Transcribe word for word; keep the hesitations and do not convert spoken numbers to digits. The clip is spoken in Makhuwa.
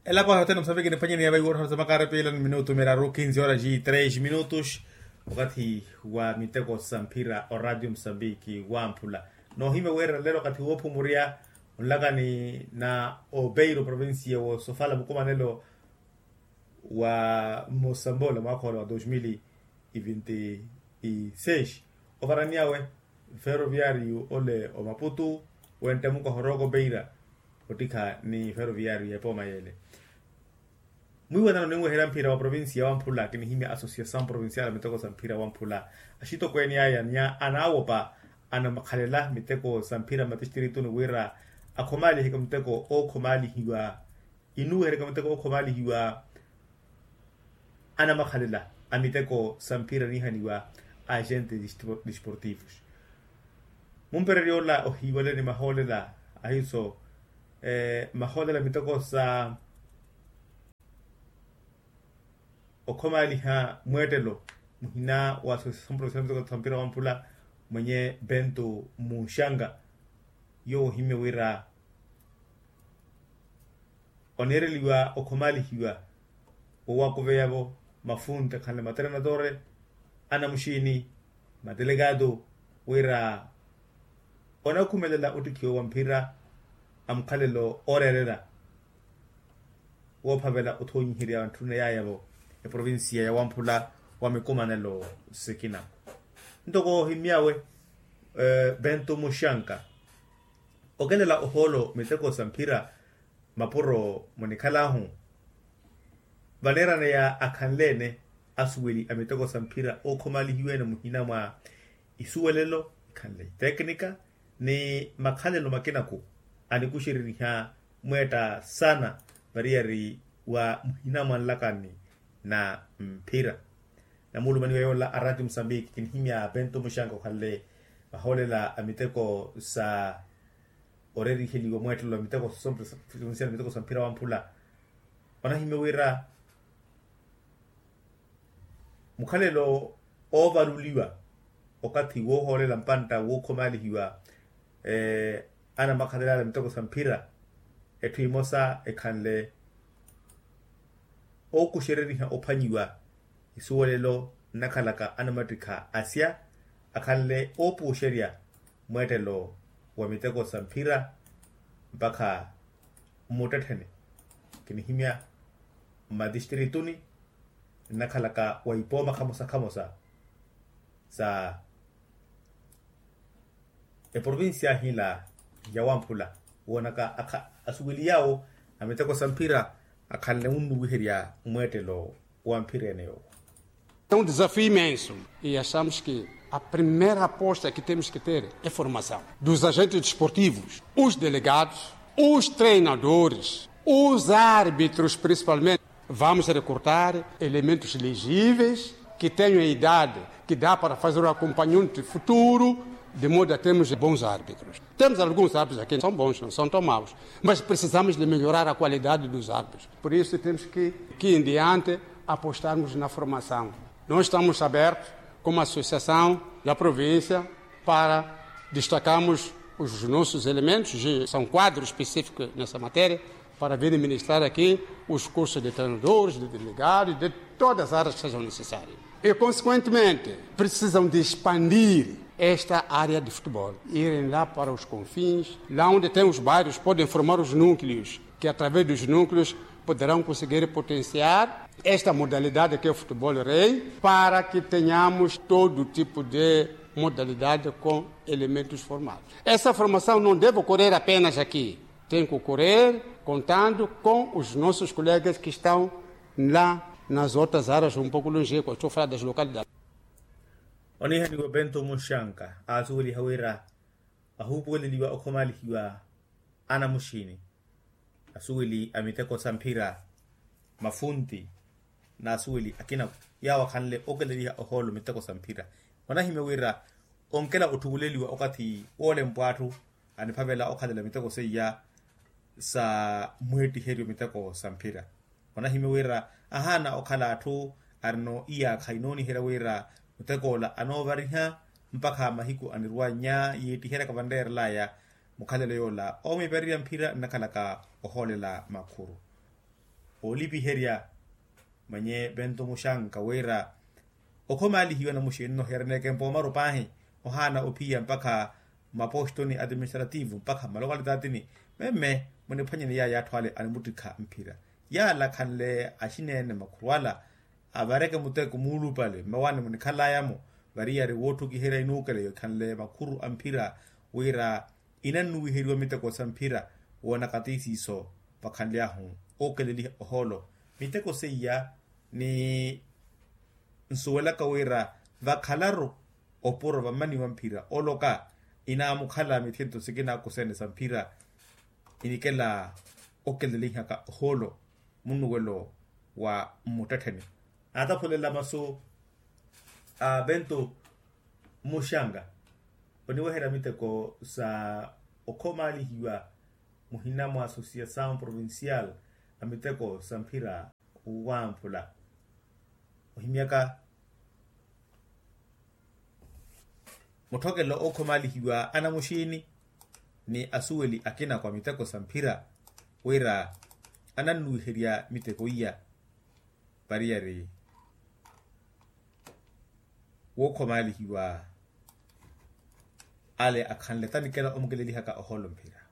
Elapo ahi othene musambiki niphwanyeni yava iwoottho za makarepeelani minutu miraru kinzi hora ji tres minutus. Wakathi wa miteko sa mphira oradio musambiki wamphula noohimya weerera lelo wakathi woophumurya onlakani na opeiro provincia wosofala mukumanelo wa mosamboola mwaakhola wa dos mil e vinti e seis ovaraniyawe feroviariyu ole omaputu wente mukaho rooko peira ottikha ni feroviariyu ya epooma yeele. Mwiiwanano ninweherya mphira wa provincia wamphula kinihimya associação provincial a miteko sa mphira wamphula axitokweene aya ni anaawopa anamakhalela miteko sa mphira mmatistrituni wira akhomaaliheke muteko ookhomaalihiwa inuweheryaka muteko ookhomaalihiwa anamakhalela a miteko sa mphira niihaniwa agente disportivos. Mumpererya ola ohiiwale ni mahoolela ahiso mahoolela miteko sa okhomaaliha mweettelo muhina wa associação provincial miteko sa mphira wamphula mwenye bento munxanga yoowo ohimye wira oneereliwa okhomaalihiwa owakuveya-vo mafunti akhanle matrenadore anamuxiini matelekaato wira onakhumelela ottikhiwa wa mphira a mukhalelo ooreerela woophavela othonyiherya antthuna yaaya-vo eprovincia ya wamphula wa mikumanelo sikina. Ntoko ohimyawe bento muxanka okelela ohoolo miteko sa mphira mapuro munikhal'ahu vaneeraneya akhanle-ene asuweli a miteko sa mphira ookhomaalihiwa-ene muhina mwa isuwelelo ikhanle iteknika ni makhalelo makinaku anikuxereriha mweetta saana variyari wa muhina mwa nlakani na mphira. Namuulumaniwa yoola a raati musambiki kinihimya bento muxanka okhanle vahoolela a miteko sa oreriheliwa mweettelo a miteko sa mphira wamphula onahimya wira mukhalelo oovaluliwa okathi woohoolela mpantta wookhomaalihiwa anamakhalel'ale a miteko sa mphira etthu emosa ekhanle ookuxereriha ophwanyiwa isuwelelo nnakhalaka anamattikha asya akhanle oopuuxerya mweettelo wa miteko sa mphira mpakha mmuttettheni kinihimya mmatistrituni nnakhalaka wa ipooma khamosakhamosa sa eprovincia hila ya wamphula woonaka asuweli yaawo a miteko sa mphira akhanle wunnuwiherya mweettelo wa mphira ene yoowo. É um desafio imenso e achamos que a primeira aposta que temos que ter é formação dos agentes desportivos, os delegados, os treinadores, os árbitros principalmente. Vamos recrutar elementos elegíveis que tenham a idade que dá para fazer o acompanhamento futuro, de modo a termos bons árbitros. Temos alguns árbitros aqui que são bons, não são tão maus, mas precisamos de melhorar a qualidade dos árbitros. Por isso temos que, aqui em diante, apostarmos na formação. Nós estamos abertos, como associação da província, para destacarmos os nossos elementos, são quadros específicos nessa matéria, para virem ministrar aqui os cursos de treinadores, de delegados, de todas as áreas que sejam necessárias. E, consequentemente, precisam de expandir esta área de futebol, irem lá para os confins, lá onde tem os bairros, podem formar os núcleos, que através dos núcleos poderão conseguir potenciar esta modalidade que é o futebol rei, para que tenhamos todo tipo de modalidade com elementos formados. Essa formação não deve ocorrer apenas aqui, tem que ocorrer contando com os nossos colegas que estão lá nas outras áreas, um pouco longe, estou a falar das localidades. Onihaniwa bento muxanka aasuweliha wira ahuupuweleliwa okhomaalihiwa anamuxiini asuweli a miteko sa mphira mafunti n'asuweli akina yaawo akhanle okeleliha ohoolo miteko sa mphira. Onahimya wira onkela otthuweleliwa okathi woolempwa atthu aniphavela okhalela miteko seiya sa mweettiheryo miteko sa mphira. Onahimya wira ahaana okhala atthu arino iyaakha inooniherya wira mutek'ola anoovariha mpakha mahiku anirwannya yeettiheryaka vanreerel'aya mukhalelo yoola oomiipererya mphira nnakhalaka ohoolela makhuru. Oolipiherya mwenye bento muxanka wira okhomaalihiwa namuxini nohiyaraneke mpoomaru paahi ohaana ophiya mpakha mapostoni administrativu mpakha malokalitaatini. Memme muniphwanyeni yaya atthu ale animuttikha mphira yala khanle axineene makhuru ala avareke muteko muulupale mmawaani munikhalayamo variyari wootthukiherya inuukela yokhanle makhuru a mphira wira inannuwiheriwa miteko sa mphira woona katisiiso vakhanly'ahu ookeleliha ohoolo miteko seiya ni nsuwelaka wira vakhalaru opuro vammaniwa mphira oloka inaamukhala mithinto sikina kuseene sa mphira inikela okelelihaka ohoolo munnuwelo wa mmuttettheni. Aataphulela masu a bento muxanga oniweherya miteko sa okhomaalihiwa muhina mwa associasaw provincial a miteko sa mphira wamphula ohimyaka mutthokelo ookhomaalihiwa anamuxiini ni asuweli akina kwa miteko sa mphira wira anannuwiherya miteko iya variyari wookhomaalihiwa ale akhanle tanikela omukelelihaka ohoolo mphira.